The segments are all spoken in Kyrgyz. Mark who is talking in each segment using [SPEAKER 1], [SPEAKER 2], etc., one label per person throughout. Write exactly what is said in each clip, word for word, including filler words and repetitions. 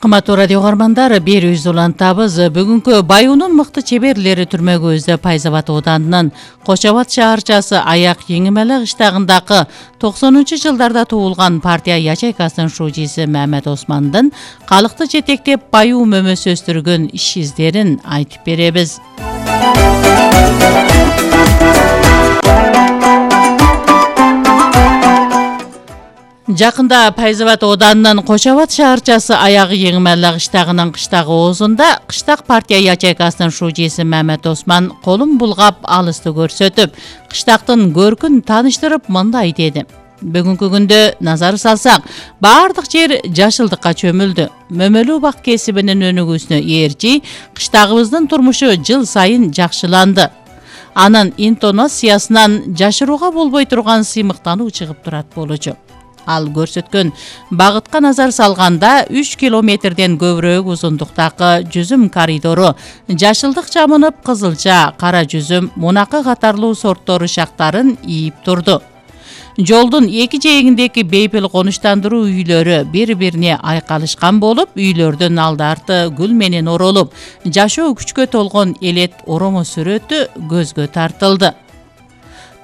[SPEAKER 1] Кыматтуу радио угармандар, берүүбүз улантабыз. Бүгүнкү Баюунун мыкты чеберлери түрмөгүбүздө Пайзабад ооданынын Кочо Абад шаарчасы Аяк Еңимеле кыштагындагы токсонунчу жылдарда туулган партия ячейкасынын шуучусу Мамет Османдын калкты жетектеп баюу мөмөсү өстүргөн иш издерин айтып беребиз. Жакында Пайзабад ооданынын Кочо Абад шаарчасы Аяк Еңимеле кыштагынын кыштагы оозунда кыштак партия ячейкасынын шуучусу Мамет Осман колун булгап алысты көрсөтүп, кыштактын көркүн тааныштырып мындай деди. Бүгүнкү күндө назар салсак, баардык жер жашылдыкка чөмүлдү. Мөмөлүү бак кесибинин өнүгүүсүнө ээрчи кыштагыбыздын турмушу жыл сайын жакшыланды. Анын интонациясынан жашырууга болбой турган сыймыктануу чыгып турат болчу. Ал көрсөткөн багытка назар салганда үч километрден көбүрөөк узундуктагы жүзүм коридору жашылдык жамынып, кызылча, кара жүзүм, мунакы катарлуу сорттору шактарын ийип турду. Жолдун эки жээгиндеги бейпил конуштандыруу үйлөрү бири-бирине айкалышкан болуп, үйлөрдүн алды-арты гүл менен оролуп, жашоо күчкө толгон элет оромо сүрөтү көзгө тартылды.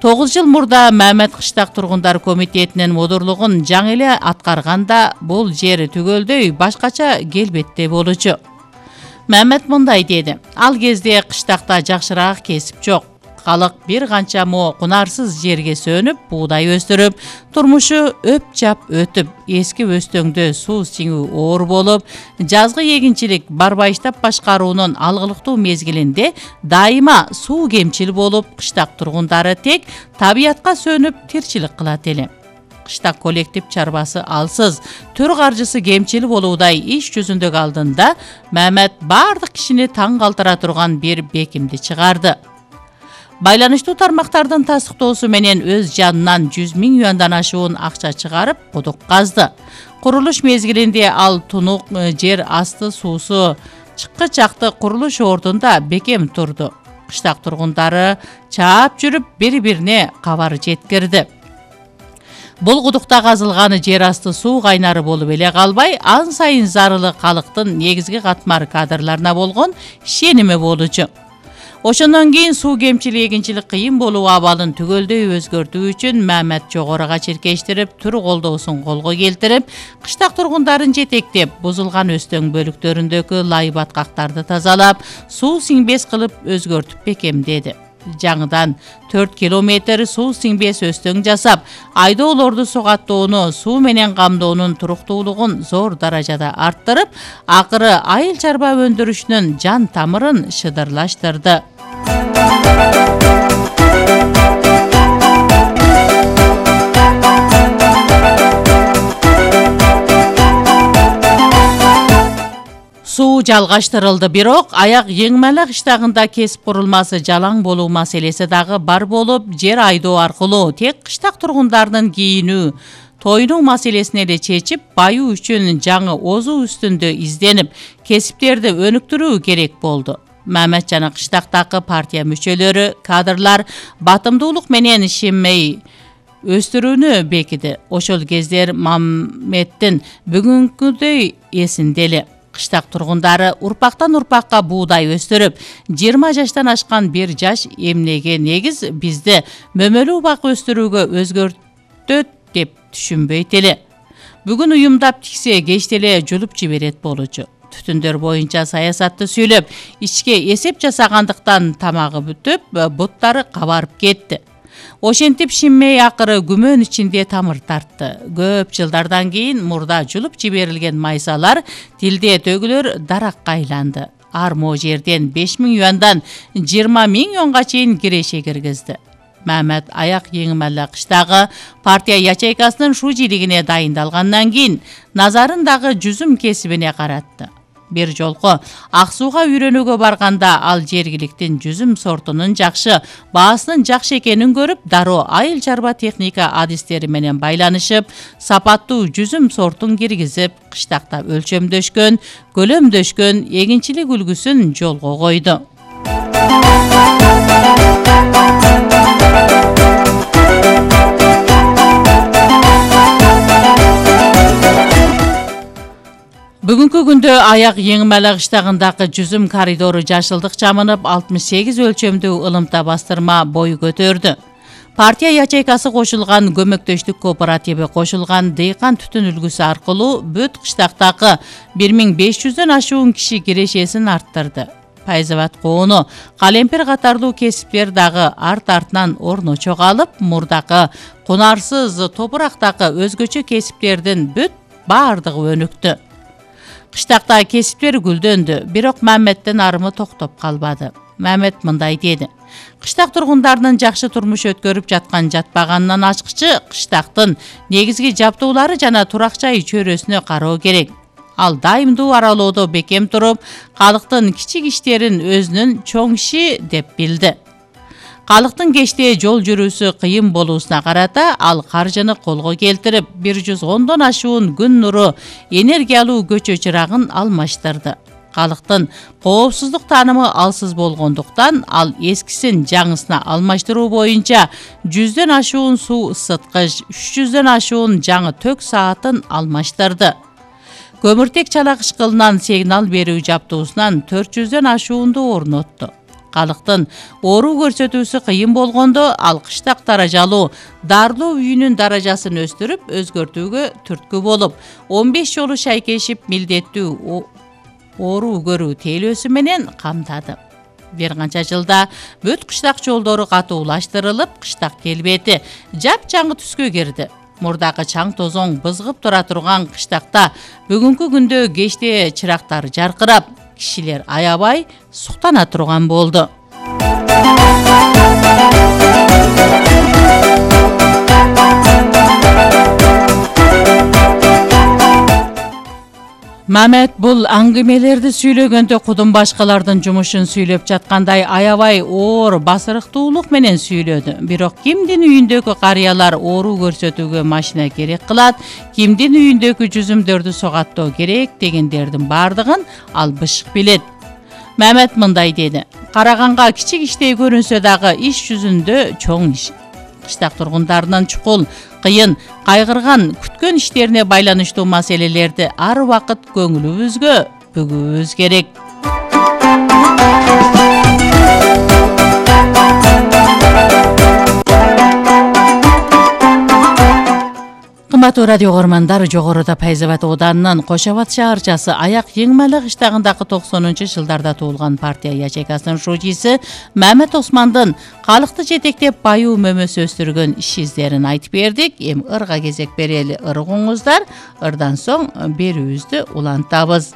[SPEAKER 1] тогуз жыл мурда Мамет кыштак тургундар комитетинин мудурлугун жаңы эле аткарганда бул жер түгөлдөй башкача келбетте болчу. Мамет мындай деди: ал кезде кыштакта жакшыраак кесип жок. Калык бир канча мо кунарсыз жерге сөнүп, буудай өстүрүп, турмушу өп-чап өтүп, эски өстөңдө суу сиңүү оор болуп, жазгы эгинчилик барбайыштап башкаруунун алгылыктуу мезгилинде дайыма суу кемчил болуп, кыштак тургундары тек табиятка сөнүп тирчилик кылат эле. Кыштак коллектив чарбасы алсыз, төр каржысы кемчил болуудай иш жүзүндөгү алдында Мамет бардык кишини таң калтыра турган бир бекимди чыгарды. Байланыштуу тармактардын тастыктоосу менен өз жанынан жүз миң юандан ашуун акча чыгарып, кудук казды. Курулуш мезгилинде ал тунук жер асты суусу чыккы чакты курулуш ордунда бекем турду. Кыштак тургундары чаап жүрүп, бири-бирине кабар жеткирди. Бул кудукта казылган жер асты суу кайнары болуп эле калбай, ан сайын зарылы калктын негизги катмар кадрларына болгон ишеними болчу. Ошондон кийин суу кемчил эгинчилик кыйын болуу абалын түгөлдөй өзгөртүү үчүн Мамет жогоруга чиркештирип, түр колдоосун колго келтирип, кыштак тургундарын жетектеп, бузулган өстөң бөлүктөрүндөгү лай баткактарды тазалап, суу сиңбес кылып өзгөртүп бекемдеди. Жаңыдан төрт километр суу сиңбес өстөң жасап, айдоолорду сугаттоону, суу менен камдоонун туруктуулугун зор даражада арттырып, акыры айыл чарба өндүрүшүнүн жан тамырын шыдырлаштырды. Суу жалгаштырылды, бирок Аяк Еңимеле кыштагында кесип курулмасы жалаң болуу маселеси дагы бар болуп, жер айдоо аркылуу тек кыштак тургундарынын кийинүү, тойнуу маселесин эле чечип, баюу үчүн жаңы озуу үстүндө изденип, кесиптерди өнүктүрүү керек болду. Мамет жана кыштактагы партия мүчөлөрү, кадрлар батымдуулук менен ишенмей өстүрүүнү бекиди. Ошол кездер Маметтин бүгүнкүдөй эсинде эле. Кыштак тургундары урпактан урпакка буудай өстүрүп, жыйырма жаштан ашкан бир жаш эмнеге негиз бизди мөмөлүү бак өстүрүүгө өзгөртөт деп түшүнбөйт эле. Бүгүн уюмдап тиксе кечте эле жулуп жиберет болчу. Түтүндөр боюнча саясатты сүйлөп, ичке эсеп жасагандыктан тамагы бүтүп, буттары кабарып кетти. Ошентип шинмей акыры күмөн ичинде тамыр тартты. Көп жылдардан кийин мурда жулуп жиберилген майсалар тилде төгүлөр даракка айланды. Ар мо жерден беш миң юандан жыйырма миң юанга чейин киреше киргизди. Мамет Аяк Еңимеле кыштагы партия ячейкасынын шуучилигине дайындалгандан кийин назарын дагы жүзүм кесибине каратты. Бир жолку ак сууга үйрөнүүгө барганда ал жергиликтин жүзүм сортунун жакшы, баасынын жакшы экенин көрүп, дароо айыл чарба техника адистери менен байланышып, сапаттуу жүзүм сортун киргизип, кыштакта өлчөмдөшкөн, көлөмдөшкөн эгинчилик үлгүсүн жолго койду. Бүгүнкү күндө аяк Еңмелі кыштагындагы жүзүм коридору жашылдык жамынып алтымыш сегиз өлчөмдүү ылымта бастырма бой көтөрдү. Партия ячейкасы кошулган көмөктөштүк кооперативи кошулган дыйкан түтүн үлгүсү аркылуу бүт кыштактагы бир миң беш жүздөн ашуун киши кирешесин арттырды. Пайзабат коону, калемпир катарлуу кесиптер дагы арт артынан орно чогалып, мурдакы кунарсыз топурактагы өзгөчө кесиптердин бүт баардыгы өнүктү. Кыштакта кесиптер гүлдөндү, бирок Маметтин арымы токтоп калбады. Мамет мындай деди: кыштак тургундарынын жакшы турмуш өткөрүп жаткан жатпаганынан ачкычы кыштактын негизги жабдуулары жана турак жай чөйрөсүнө кароо керек. Ал дайымдуу аралоодо бекем туруп, калктын кичик иштерин өзүнүн чоң иши деп билди. Калктын кечте жол жүрүүсү кыйын болуусуна карата ал каржыны колго келтирип, бир жүз ондон ашуун күн нуру энергиялуу көчө чырагын алмаштырды. Калктын коопсуздук таанымы алсыз болгондуктан ал эскисин жаңысына алмаштыруу боюнча жүздөн ашуун суу ысыткыч, үч жүздөн ашуун жаңы тök саатын алмаштырды. Көмүртек чала кышкылынан сигнал берүү жабдуусунан төрт жүздөн ашуунду орнотту. Калктын оору көрсөтүүсү кыйын болгондо ал кыштак даражалуу дарлоо үйүнүн даражасын өстүрүп, өзгөртүүгө түрткү болуп, он беш жолу шайкешип милдеттүү оору көрүү тейлөөсү менен камтады. Бир канча жылда бүт кыштак жолдору катуулаштырылып, кыштак келбети жапжаңы түскө кирди. Мурдагы чаң тозоң бызгып тура турган кыштакта бүгүнкү күндө кечте чырактар жаркырап, кишилер аябай суктана турган болду. Мамет бул аңгемелерди сүйлөгөндө кудум башкалардын жумушун сүйлөп жаткандай аябай оор басырыктуулук менен сүйлөдү. Бирок кимдин үйүндөгү карыялар оору көрсөтүүгө машина керек кылат, кимдин үйүндөгү жүзүмдөрдү согаттоо керек дегендердин баардыгын ал бышык билет. Мамет мындай деди: караганга кичик иштей көрүнсө дагы иш жүзүндө чоң иш. Кыштак тургундарынын чукул, кыйын, кайгырган, күткөн иштерине байланыштуу маселелерди ар убакыт көңүлүбүзгө бүгүүбүз керек. Кымбаттуу радио көрөрмандар, жогоруда Пайзабат ооданынын Кош Абад шаарчасы Аяк Еңмелі кыштагындагы токсонунчу жылдарда туулган партия ячейкасынын шужиси Мамет Османдын калкты жетектеп баюу мөмөсү өстүргөн иш издерин айтып бердик. Эми ырга кезек берели ыргыңыздар. Ырдан соң берүүбүздү улантабыз.